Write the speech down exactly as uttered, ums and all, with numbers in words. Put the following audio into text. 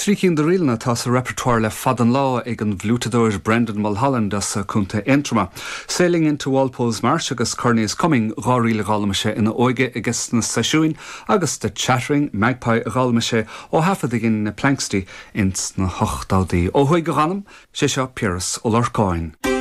Trí cinn de ríleanna atá sa repertoire le fada an lá ag an bhfliútadóir Brendan Mulholland as Contae Aontroma. Sailing into Walpole's Marsh agus Kearney is Coming dhá ríl a d'fhoghlaim sé ina óige aige na seisiúin agus The Chattering Magpie a d'fhoghlaim sé ó thaifead a dhein na Planxty ins na hochtóidí. Ó thuaidh a dh'anam sé seo Piaras Ó Lorcáin.